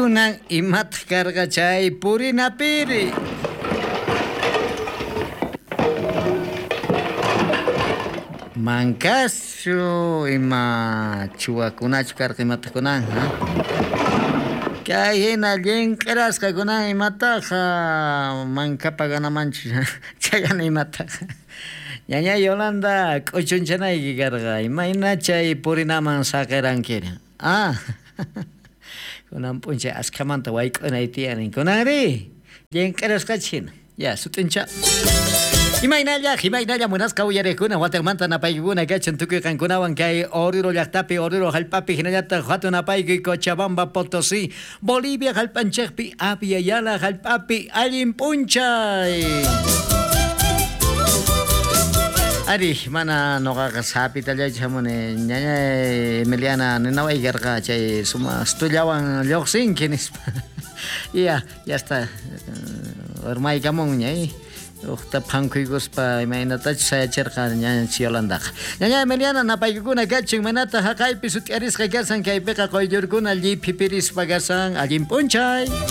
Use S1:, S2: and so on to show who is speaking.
S1: Kunan imataq karqa chay purinapiri? Mankaschu ima chuwakunachu karqa imataq kunan? Kay hina llinq'irasqa kunan imataqa manka paganamanchu chayana imataqa. Ñaña Yolanda k'uchunchanayki karqa imayna chay purinaman saqirankiri. Ah, kunan p'unchay askhamanta wayk'unay tiyan kunanri llinq'irasqachis hina. Ya, sut'incha. Imaynalla, imaynalla munasqa uyariqkuna wataqmanta napaykikuna kachan tukuy qankunawan kay Oruro llaqtapi, Oruro hallp'api hinallataq hatun napaykuy Cochabamba, Potosí, Bolivia hallp'anchikpi, Abya Yala hallp'api allin p'unchay. Ari, mana noqaqa sapitallachu hamuni ñañay Emiliana ninaway karqa chay sumaq stullawan lluqsinki nispa. Ya, ya está. Urmaykamunña, Ujta phankuykuspa imaynatachus sayachirqa ñañanchis Yolandaqa. Ñaña Emiliana napaykukuna kachun, imaynata haqaypi sut'iarisqa kasan, kaypiqa quyllurkuna lliphipirispa kasan, allin p'unchay.